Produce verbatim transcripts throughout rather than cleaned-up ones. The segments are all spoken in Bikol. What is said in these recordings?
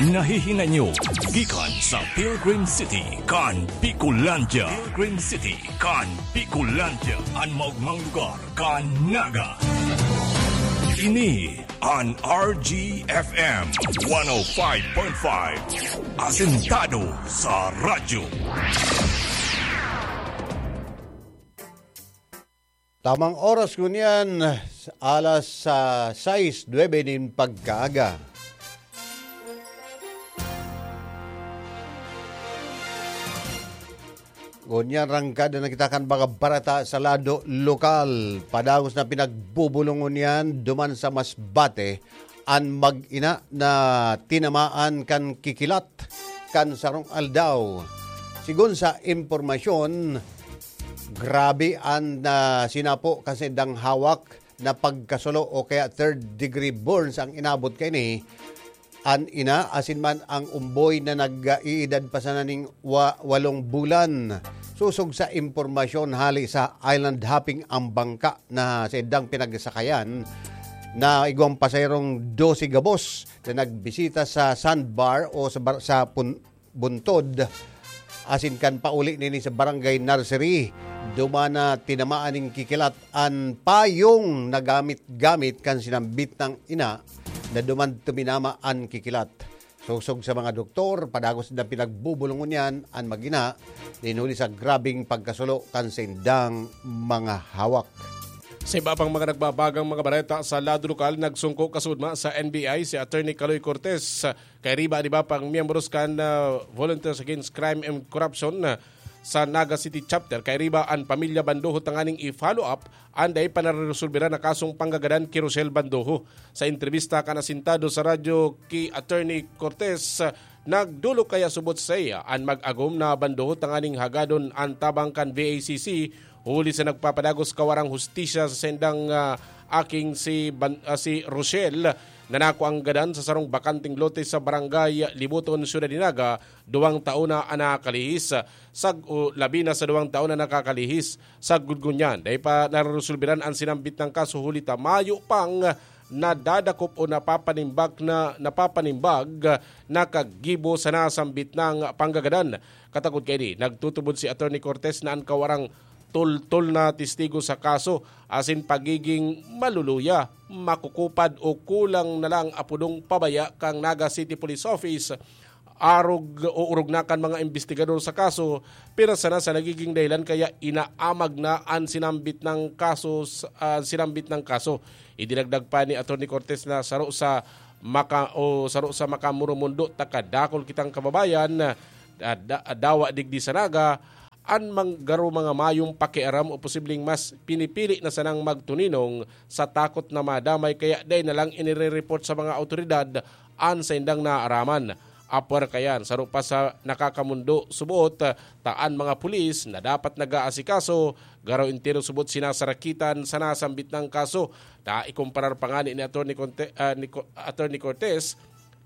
Nahihinay nyo gikan sa Pilgrim City kan Bicolandia. Pilgrim City kan Bicolandia, an maogmang lugar kan Naga. Ini an R G F M one oh five point five, asentado sa radyo. Tamang oras ngunyan, alas, ah, sais, nuebe nin pagkaaga. Ngunyan, rangkada na kita kan mga bareta sa lado lokal. Padagos na pinagbubulong ngunyan, duman sa Masbate, an mag-ina na tinamaan kan kikilat kan sarong aldaw. Sigon sa impormasyon, grabe an, ah, sinapo kan saindang hawak na pagkasulo o kaya third degree burns ang inabot kaini. An ina asin man ang umboy na nag-iidad pa sana ning wa-, walong bulan. Sosog sa impormasyon hali sa island hopping ang bangka na saindang pinagsakayan na igwang pasaherong dose gabos na nagbisita sa sandbar o sa bar-, sa pun-, buntod, asin kan pauli nini sa Barangay Nursery, duman na tinamaan nin kikilat an payong na gamit-gamit kan sinambit nang ina na duman tuminama an kikilat. Sosog sa mga doktor, padagos na pinagbubulong ngunyan an mag-ina, nin huli sa grabeng pagkasulo kan saindang mga hawak. Sa iba pang mga nagbabagang mga bareta sa lado lokal, nagsungko kasudma sa N B I si Attorney Kaloy Cortez, kairiba an iba pang miyembros kan, ah, Volunteers Against Crime and Corruption, ah, sa Naga City Chapter. Kairiba an pamilya Bandoho tanganing i-follow up an dai pa nareresolbera na kasong panggagadan ki Rochelle Bandoho. Sa entrebista kan asintado sa radyo ki Attorney Cortez, nagdolok kaya subot saiya an mag-agom na Bandoho tanganing hagadon an tabang kan V A C C, huli sa nagpapadagos kawarang hustisya sa saindang, ah, aking si Ban-, ah, si Rochelle, na nakuang gadan sa sarong bakanteng lote sa Barangay Libuton, Syudad de Naga, duwang taon na an nakalihis. Sag-, o, labi na sa duwang taon na nakakalihis. Sagkod ngunyan, dai pa nareresolberan an sinambit nang kaso huli ta mayo pang nadadakop o napapanimbak na, napapanimbag na kagibo sa nasambit nang panggagadan. Katakod kaini, nagtutubod si Attorney Cortez na an kawarang tultol na testigo sa kaso asin pagiging maluluya, makukupad o kulang na lang apodong pabaya kan Naga City Police Office, arog o orog na kan mga imbestigador sa kaso, pero sana sa nagiging dahilan kaya inaamag na an sinambit nang kaso, s-, ah, sinambit nang kaso. Idinagdag pa ni Attorney Cortez na saro sa maka-, o saro sa makamurumundo ta kadakol kitang kababayan, ah, da-, dawa digdi sa Naga, an mang-, garo mga mayong pakiaram o posibleng mas pinipili na sanang magtuninong sa takot na madamay kaya dai na lang inire-report sa mga awtoridad an saindang naaraman. Apwera kayan, saro pa sa nakakamundo subot, ta an mga pulis na dapat nag-aasikaso, garo entero subot sinasarakitan sa nasambit nang kaso. Ta ikumparar pa ngani ni Attorney Conte-, ah, ni Co-, Attorney Cortez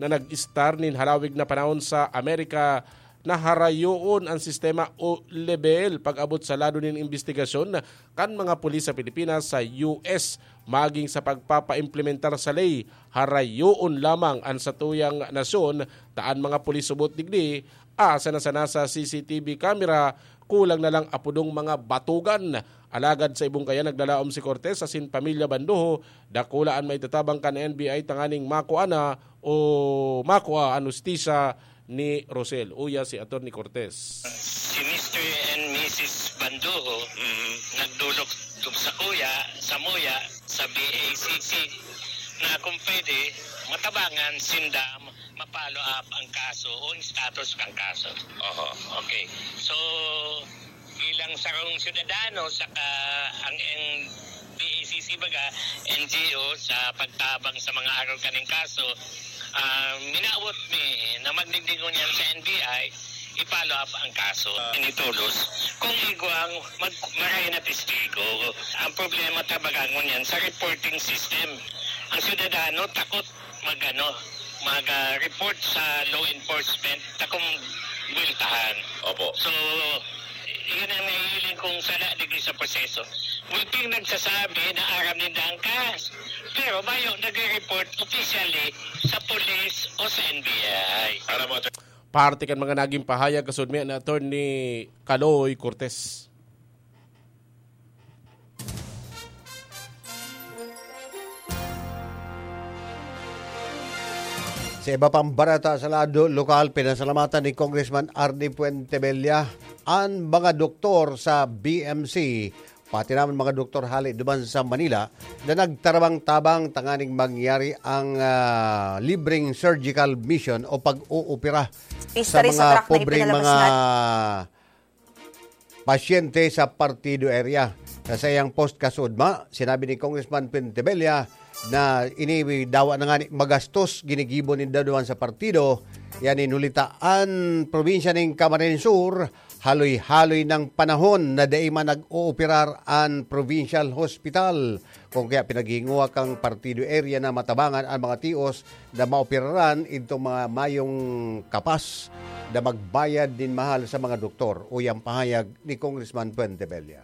na nag-estar nin halawig na panahon sa Amerika na harayoon an sistema o lebel pag-abot sa lado nin imbestigasyon kan mga pulis sa Pilipinas sa U S, maging sa pagpapaimplementar sa ley. Harayoon lamang an satuyang nasyon, ta an mga pulis subot digdi, asa na sana sa C C T V camera, kulang na lang apodong mga batugan. Alagad sa ibong kaya naglalaom si Cortez asin pamilya Bandoho, dakula an maitatabang kan N B I tanganing makua na o makua an hustisya ni Rosel. Uya si Attorney Cortez. Si Mister and Missus Bandoho, mm, nagdolok sa kuya, sa muya, sa B A C C, na kung pwede, matabangan sinda, ma-follow up ang kaso o ang status ng kaso. Oho. Okay. So, bilang sarong syudadano, saka ang, ang B A C C baga, N G O, sa pagtabang sa mga arog kaning kaso, ah, minawot mi na magdigdi ngunyan sa N B I, i-follow up ang kaso. Initulos. Kung igwang, mag-, maray na testigo. Ang problema talaga ngunyan sa reporting system. Ang syudadano takot mag-ano, mag, ah, report sa law enforcement, takong buweltahan. Opo. So, yun ang nahihiling kong sala digdi sa proseso. Multing nagsasabi na aram ninda ang kas-, pero mayo nagre-report officially sa pulis, O sa N B I. Para mo, Attorney. Parte kan mga naging pahayag kasudmi ni Attorney Kaloy Cortez. Sa iba pang barata sa lado lokal, pinasalamatan ni Congressman Arnie Fuentebella an mga doktor sa B M C, pati naman mga doktor hali duman sa Manila, na nagtarabang-tabang tanganing mangyari ang, ah, libreng surgical mission o pag-oopera sa Pista rin sa mga track na pobreng ipinalabas mga na pasyente sa Partido area. Sa saiyang post kasudma, sinabi ni Congressman Fuentebella na ini dawa na nga ni magastos ginigibo ninda duman sa partido. Yan in huli ta an probinsya ning Camarines Sur, haloy-haloy ng panahon na dai man nag-ooperar an provincial hospital. Kung kaya pinaghinguha kang partido area na matabangan an mga tios na maoperaran idtong mga mayong kapas na magbayad nin mahal sa mga doktor, uya an pahayag ni Congressman Fuentebella.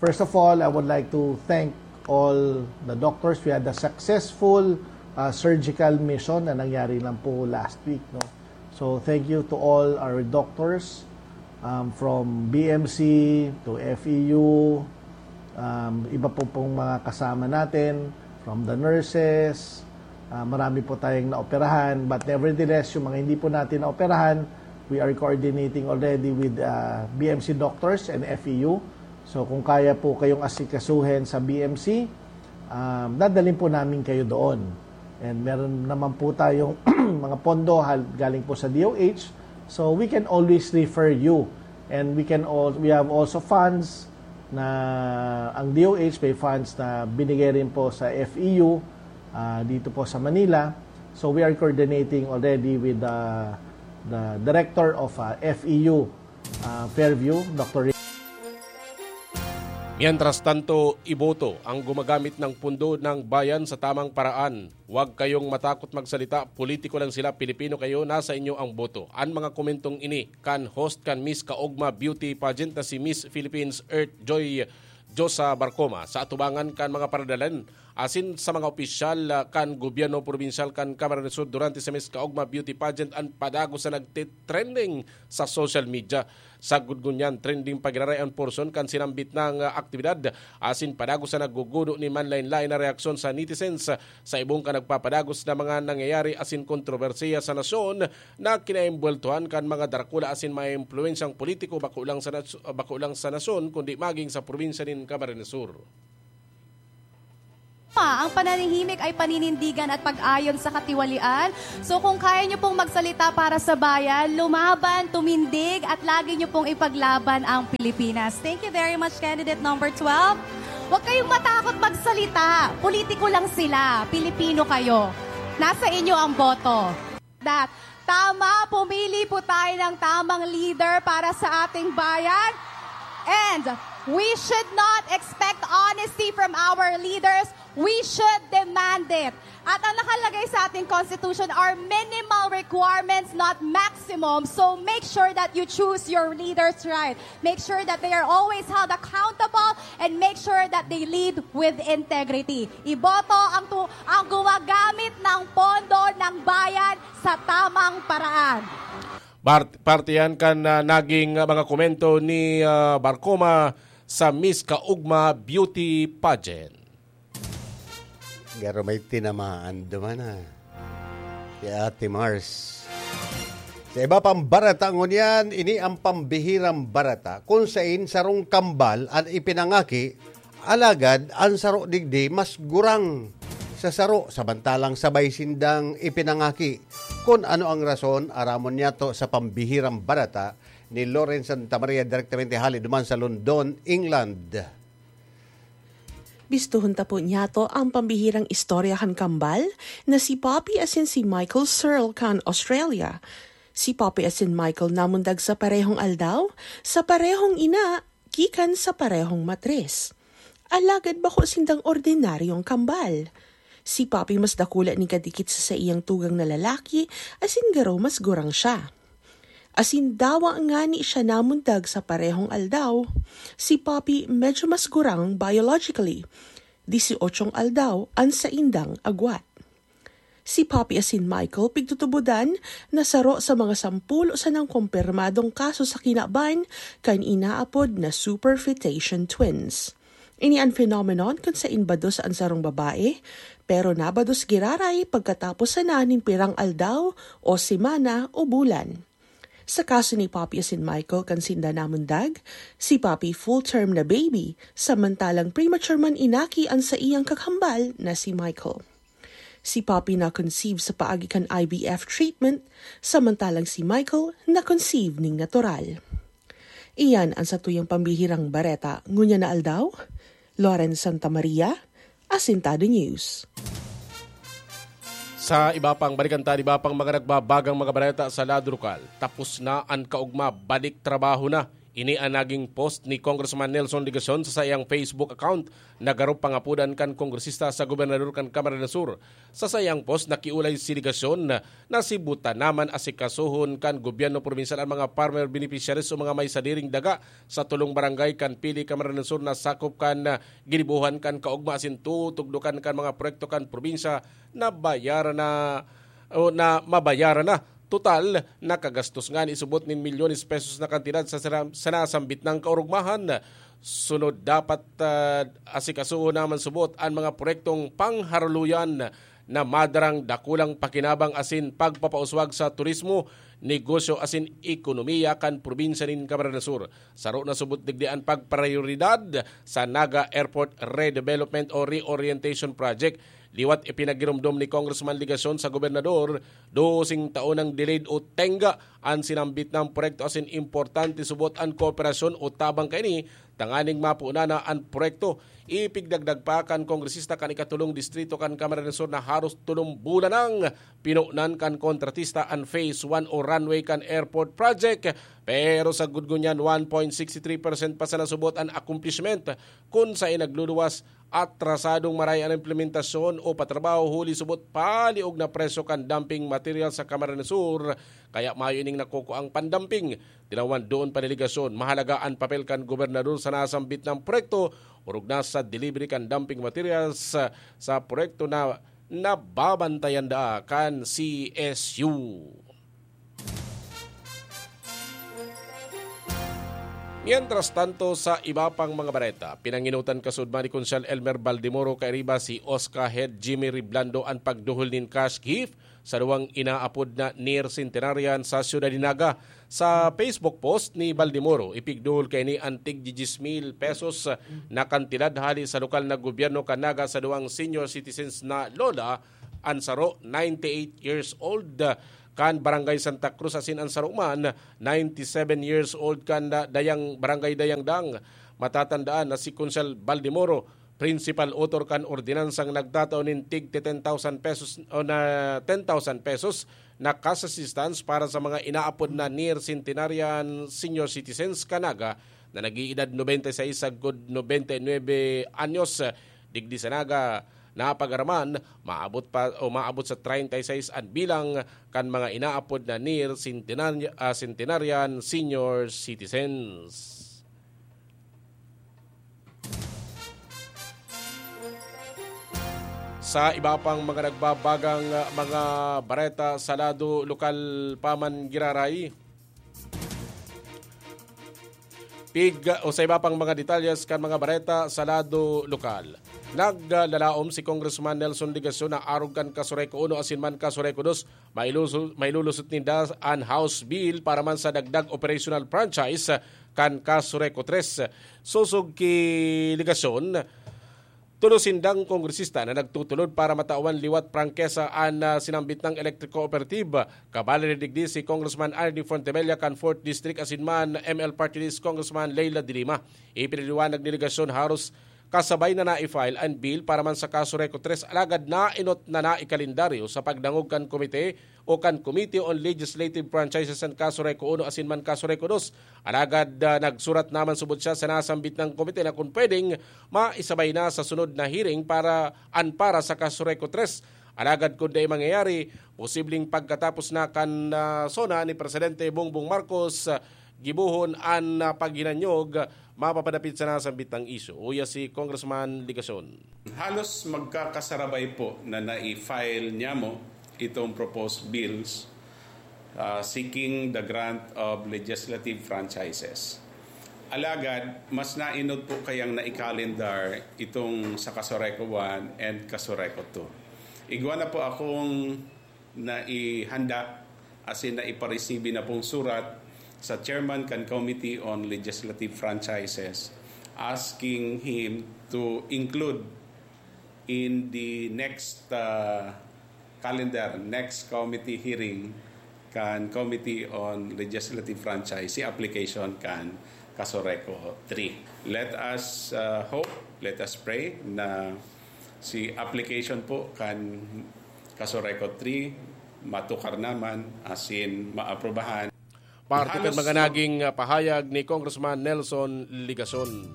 First of all, I would like to thank all the doctors. We had a successful, uh, surgical mission na nangyari lang po last week, no? So, thank you to all our doctors, um, from B M C to F E U, um, iba po pong mga kasama natin, from the nurses, ah, marami po tayong naoperahan. But nevertheless, yung mga hindi po natin naoperahan, we are coordinating already with, ah, B M C doctors and F E U. So, kung kaya po kayong asikasuhin sa B M C, um, dadalhin po namin kayo doon. And meron naman po tayong mga pondo hal-, galing po sa D O H. So, we can always refer you. And we can al-, we have also funds na ang D O H may funds na binigay rin po sa F E U, ah, dito po sa Manila. So, we are coordinating already with the, the director of, ah, F E U, ah, Fairview, Doctor Rick. Mientras tanto, iboto ang gumagamit ng pundo ng bayan sa tamang paraan. Huwag kayong matakot magsalita, politiko lang sila, Pilipino kayo, nasa inyo ang boto. An mga komentong ini kan host kan Miss Kaogma Beauty Pageant na si Miss Philippines Earth Joy Josa Barcoma sa atubangan kan mga paradalan asin sa mga opisyal, ah, kan gobyerno probinsyal kan Camarines Sur durante sa Miss Kaogma Beauty Pageant an padagos na nagtitrending sa social media. Sagkod ngunyan, trending pa giraray an portion kan sinambit na, ah, aktibidad asin padagos na naggugudo nin manlaen-laen na reaksyon sa netizens sa ibong kan nagpapadagos na mga nangyayari asin kontrobersiya sa nasyon na kinaimbweltohan kan mga darakula asin mga impluwensyang politiko, bako lang sa nas-, bako lang sa nasyon, kundi maging sa probinsya nin Camarines Sur. Ang pananahimik ay paninindigan at pag-ayon sa katiwalian. So, kung kaya nyo pong magsalita para sa bayan, lumaban, tumindig, at lagi nyo pong ipaglaban ang Pilipinas. Thank you very much, candidate number twelve. Huwag kayong matakot magsalita. Politiko lang sila. Pilipino kayo. Nasa inyo ang boto. That. Tama, pumili po tayo ng tamang leader para sa ating bayan. And we should not expect honesty from our leaders. We should demand it. At ang nakalagay sa ating constitution are minimal requirements, not maximum. So make sure that you choose your leaders right. Make sure that they are always held accountable and make sure that they lead with integrity. Iboto ang tu-, ang gumagamit ng pondo ng bayan sa tamang paraan. Bar-, parte yan kan, ah, naging, ah, mga komento ni, ah, Barcoma sa Miss Kaugma Beauty Pageant. Garo may tinamaan duman, ah. Si Ate Mars. Sa iba pang barata ngunyan, ini ang pambihirang barata kung sain sarong kambal an ipinangaki, alagad an saro digdi mas gurang sa saro, samantalang sabay sindang ipinangaki. Kun ano ang rason, aramon niyato sa pambihirang barata ni Loren Santa Maria, direktamente hali duman sa London, England. Bistuhon ta po niyato ang pambihirang istorya kan kambal na si Poppy asin si Michael Searle kan Australia. Si Poppy asin Michael namundag sa parehong aldaw, sa parehong ina, gikan sa parehong matris. Alagad bako sindang ordinaryong kambal. Si Poppy mas dakula nin kadikit sa saiyang tugang na lalaki, asin garo mas gurang siya. Asin dawa ngani siya namundag sa parehong aldaw. Si Poppy medyo mas gurang biologically. Dieciochong aldaw an saindang agwat. Si Poppy asin Michael pigtutubodan na saro sa mga sampulo sanang kumpirmadong kaso sa kinaban kan inaapod na superfetation twins. Ini an phenomenon kun sain bados an sarong babae, pero nabados giraray pagkatapos sana nin pirang aldaw o semana o bulan. Sa kaso ni Poppy asin Michael kan sinda namundag, si Poppy full-term na baby, samantalang premature man inaki an saiyang kakambal na si Michael. Si Poppy na-conceive sa paagi kan I V F treatment, samantalang si Michael na-conceive ning natural. Iyan an satuyang pambihirang bareta ngunyan na aldaw. Loren Santa Maria, Asintado News. Sa iba pang balikan ta, iba pang mga nagbabagang mga bareta sa lado lokal. Tapos na an kaugma, balik trabaho na. Ini an naging post ni Congressman Nelson Legacion sa saiyang Facebook account na garo pangapodan kan kongresista sa gobernador kan Camarines Sur. Sa saiyang post, nakiolay si Legacion na, na si buta naman asikasohon kan gobyerno probinsyal an mga farmer beneficiaries o mga may sadiring daga sa tolong barangay kan Pili, Camarines Sur na sakop kan, ah, ginibohan kan kaugma asin tutugdokan kan mga proyekto kan probinsya na bayaran na, o na mabayaran na. Total, nakagastos ngani subot nin milyones pesos na kantidad sa sara-, sa nasambit nang kaurugmahan. Sunod dapat, ah, asikasuhon naman subot an mga proyektong pangharuluyan na madarang dakulang pakinabang asin pagpapauswag sa turismo, negosyo asin ekonomiya kan probinsya nin Camarines Sur. Saro na subot digdi an pagprayoridad sa Naga Airport Redevelopment o Reorientation Project. Liwat ipinagiromdom ni Congressman Legacion sa gobernador, doseng taon nang delayed o tengga an sinambit na proyekto asin importante subot an kooperasyon o tabang kaini tanganing mapunan na an proyekto. Ipigdagdag pa kan kongresista kan ikatulong distrito kan Camarines Sur na haros tolong bulan nang pinunan kan kontratista an Phase one o runway kan airport project, pero sagkod ngunyan one point six three percent pa sana subot an accomplishment, kun saen nagluluwas atrasadong maray an implementasyon o patrabaho huli subot paliog na presyo kan dumping material sa Camarines Sur, kaya mayo ining nakukuang pandumping. Tinawan doon pa delegasyon, mahalaga an papel kan gobernador sa nasambit na proyekto, orog na sa delivery kan dumping materials sa, sa proyekto na nababantayan daa kan C S U. Mientras tanto, sa iba pang mga bareta, pinanginutan kasudman ni Konsehal Elmer Baldemoro kairiba si Oscar Head Jimmy Riblando an pagduhol nin cash gift sa duwang inaapod na near centenarian sa Ciudad de Naga. Sa Facebook post ni Baldemoro, ipigduhol kaini an tig diyes mil pesos na kantidad hali sa lokal na gobyerno kan Naga sa duwang senior citizens na lola, an saro, ninety-eight years old, kan Barangay Santa Cruz, asin an saro man, ninety-seven years old, kan da-, Dayang, Barangay Dayangdang. Matatandaan na si Konsehal Baldemoro, principal author kan ordinansang nagtatao nin tig ten thousand pesos o na ten thousand pesos na cash assistance para sa mga inaapod na near centenarian senior citizens kan Naga na nag-iidad nobenta y seis sagkod nobenta y nuebe anyos. Digdi sa Naga, napag-araman, maabot pa o maabot sa treinta y seis an bilang kan mga inaapod na near centenar-, ah, centenarian senior citizens. Sa iba pang mga nagbabagang, ah, mga bareta sa lado lokal pa man giraray, pig o sa iba pang mga detalyes kan mga bareta sa lado lokal. Naglalaom si Congressman Nelson Legacion na arog kan Kasureco uno asin man Kasureco dos, mailuso-, mailulusot ninda an House Bill para man sa dagdag operational franchise kan Kasureco tres. Sosog ki Legacion, tolo sindang kongresista na nagtutulod para matawan liwat prangkesa an, ah, sinambit na electric cooperative. Kabalari digdi si Congressman Arnie Fontebella kan fourth District asin man M L Party List Congressman Leila de Lima. Ipinaliwanag ni Legacion haros kasabay na na-file an bill para man sa Kasureco tres, alagad nainot na naikalendaryo sa pagdangog kan komite o kan Committee on Legislative Franchises an Kasureco uno asin man Kasureco dos. Alagad, ah, nagsurat naman subot siya sa nasambit na komite na kun pwedeng maisabay na sa sunod na hearing para an para sa Kasureco tres. Alagad kun dai mangyayari, posibleng pagkatapos na kan, ah, SONA ni Presidente Bongbong Marcos, ah, gibohon an, ah, paghinanyog, mapapadapit sa nasambit na isyu. Uya si Congressman Legacion. Halos magkakasarabay po na nai-file niyamo itong proposed bills uh, seeking the grant of legislative franchises. Alagad, mas nainod po kayang naikalendar itong sa Casureco one and Casureco two. Igwa na po akong naihanda, as in naiparesibi na pong surat sa chairman kan Committee on Legislative Franchises asking him to include in the next uh, calendar, next committee hearing kan Committee on Legislative Franchise, si application kan Casureco three. Let us uh, hope, let us pray na si application po kan Casureco three matukar naman, asin maaprubahan. Parte kan mga naging pahayag ni Congressman Nelson Ligason.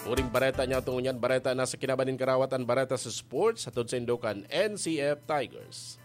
Uring bareta niya tungo niyan, bareta na sa kinaban nin karawat, an bareta sa sports, hatod sa Indokan N C F Tigers.